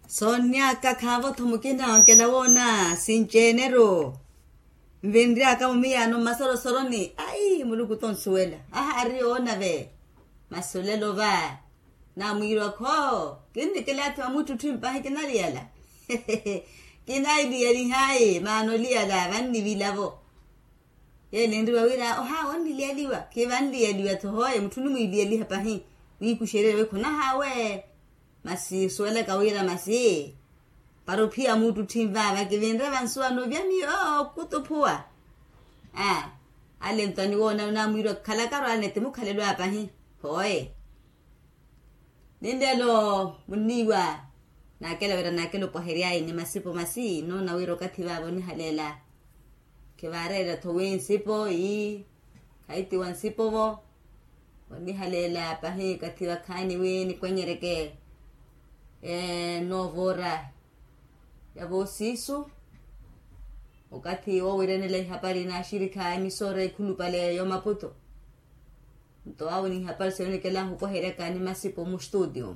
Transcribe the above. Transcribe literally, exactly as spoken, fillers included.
Soonnyaka khaavo-tho mukina onkela woona sinci-ene-ru. Nvinryaka mumiyaano mmasorosoro ni ai muluku tonsuwela ahaari oona ve. Masi olelo va namwiirwa-kho kinnikilaathi wa muttutthi mpahi kinaliyala. Kinailiyalihayi maana oliyala vannivilavo. Yeele enriwa wira ohawe onniliyaliwa khivanliyaliwa-tho hoye mutthu onimwiiliyaliha pahi. Wiikuxererye wi khonahaawe. Masi osuwelaka wira masi para ophiya muttutthi nvaava kivinre vansuwano vya miyo okutuphuwa. Ale ntwani woona namwiirwa khalakaru ale nete mukhalelo apahi. Hoye ninlelo munniiwa. Naakela wira naakela opwahery'ayi ni masipo masi noona wira okathi vaava onihaleela. Khivaareera-tho wi nsipo ii khaitiwa nsipo-vo. Onihaleela pahi okathi vakhaani wi nikwenyereke noova ora ya voosiisu. Okathi woowiranela ihapari n'axirikha emisoora ekhulupale y'omaputo. Nto awo n'ihapari sinoonikelahu opweheryaka ni masipo mustutio.